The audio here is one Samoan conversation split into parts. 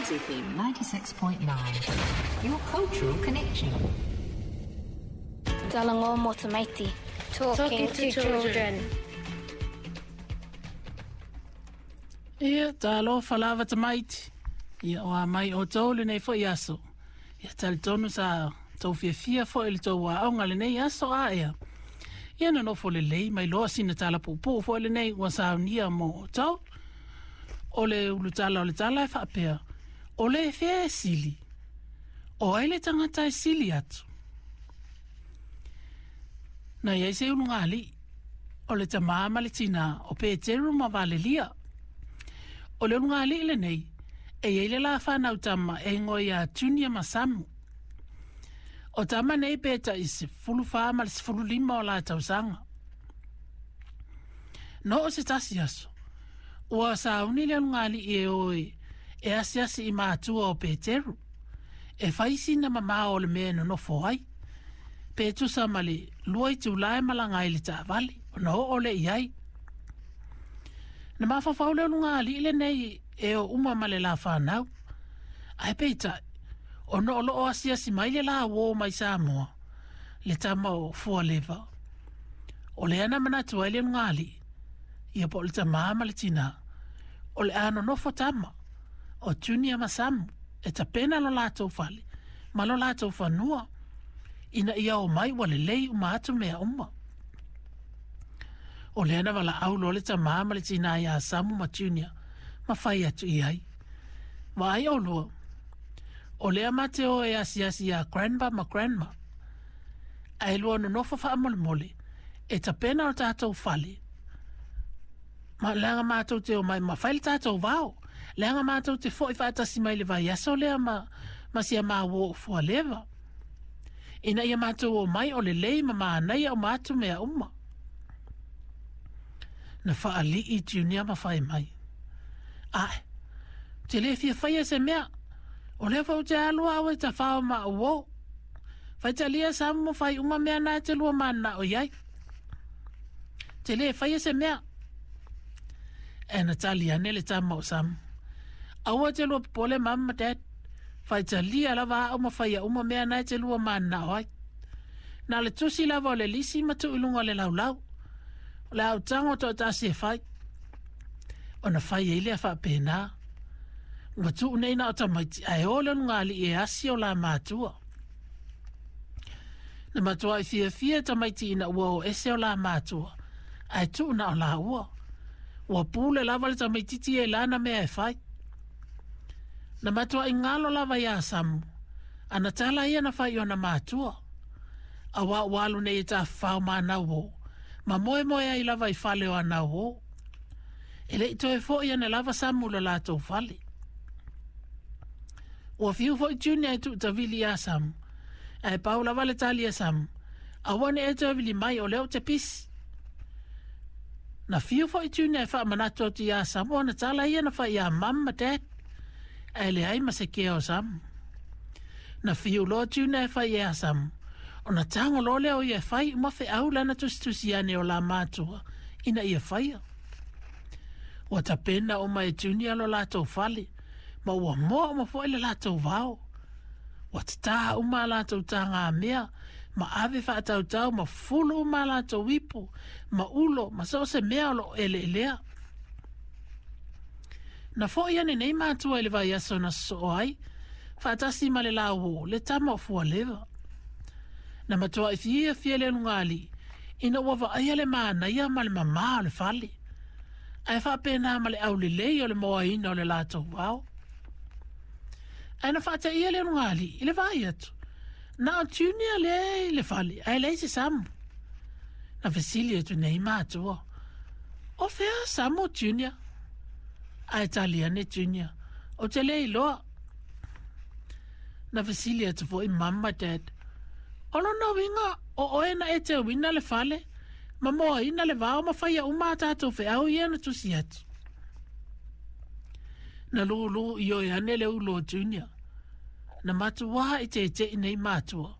Plains FM 96.9, your cultural connection. Talanoa mo tamaiti. Talking to children. Ia, talofa lava tamaiti. Ia, o a mai outou lenei foi aso. Ia, talitonu sa tou fiafia foi i le tou aoga lenei aso a ea. Ia, nonofo lelei ma iloa sina tala puupuu foi lenei ua saunia mo outou. O le ulutala o le tala e faapea, O le fea e sili? O ai le tagata e sili atu? Na i ai se ulugalii, o le tamā ma le tinā, o Peteru ma Valelia. O le ulugalii lenei, e i ai le la fanau tama e igoa ia Junior ma Samu. O tama nei pe tai 14 ma le 15 o la tausaga. No o se tasi aso, ua sauni le ulugalii e o e asiasi i matua o Peteru, e fai sina mamao o le mea e nonofo ai. Pe tusa ma le 2 itula e malaga ai i le taavale, ona oo lea i ai. Na mafaufau le ulugalii lenei e o uma ma le la fanau. Ae peitai, ona o loo asiasi mai le la uō mai Samoa, le tama o Fualeva. O lea na manatu ai le ulugalii, ia po o le tamā ma le tinā, o le a nonofo tama, o Junior ma Samu, e tapena lo latou fale ma lo latou fanua, ina ia o mai ua lelei uma atu mea uma. O lea na valaau loa le tamā ma le tinā iā Samu ma Junior ma fai atu i ai. Vaai ʻolua, o lea ma te o e asiasi iā Grandpa ma Grandma. Ae lua nonofo faamolemole e tapena o tatou fale ma leaga matou te omai ma fai le tatou vao. Leaga matou te foʻi faatasi mai le vaiaso lea ma, ma si a māua o Fualeva. Ina ia matou omai o lelei ma manaia uma atu mea uma. Na faalii Junior ma fai mai. Ae, ou te le fia faia se mea. O lea foi ou te alu au e tafao ma au uō. Faitalia Samu ma fai uma mea na e te lua mananao i ai. Te le faia se mea. Ae na tali ane le tama o Samu. Aua te lua popole mum ma dad. Faitalia lava au ma faia uma mea na e te lua mananao ai. Na le tusi lava o le lisi ma tuu i luga o le laulau. O le a ou tago toatasi e fai. Ona fai ai lea faapena. Ua tuu nei na o tamaiti ae o le ulugalii e asi o la matua. Na matuai fiafia tamaiti ina ua o ese o la matua ae tuu na o laua. Ua pule lava le tamaititi e lana mea e fai. Na matuai galo lava iā Samu, ana tala ia na fai i ona matua. Auā ua alu nei e tafafao ma ana uō, ma moemoe ai lava i fale o ana uō. E le i toe foʻi ane lava Samu i lo latou fale. Ua fiu foi Junior e tuutawili iā Samu, ae pau lava le tali a Samu, Aua ne i e toe wili mai o lea ou te pisi. Na fiu foi Junior e faamanatu atu iā Samu ana tala ia na fai iā Mum ma Dad, ae leai ma se kea o Samu. Na fiu loa Junior e fai iā Samu, ona tago loa lea o ia e fai uma feau lana tusitusi ane o la matua ina ia faia. Ua tapena uma e Junior lo latou fale, ma ua moa uma foi le latou vao. Ua tatā uma a latou tagamea, ma ave faatautau ma fulu uma a latou ipu, ma ulo, ma so o se mea o loo eleelea. Na foʻi ane nei matua i le vaiaso na sosoo ai, faatasi ma le la uō, le tama o Fualeva. Na matuai fiafia le ulugalii ina ua vaaia le manaia ma le mamā o le fale, ae faapena ma le aulelei o le moaina o le latou vao. Ae na faateia le ulugalii i le vaai atu, na o Junior lea i le fale ae leai se Samu. Na fesili atu nei matua, O fea Samu Junior? Ae tali ane Junior, Ou te le iloa. Na fesili atu foi Mum ma Dad, O lona uiga o oe na e teuina le fale, ma moaina le vao ma faia uma a tatou feau ia na tusi atu? Na lūlū ioe ane le ulu o Junior. Na matuā i teteʻi nei matua,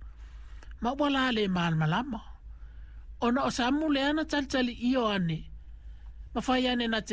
ma ua la le malamalama. Ona o Samu lea na talitali io ane, ma fai ane na te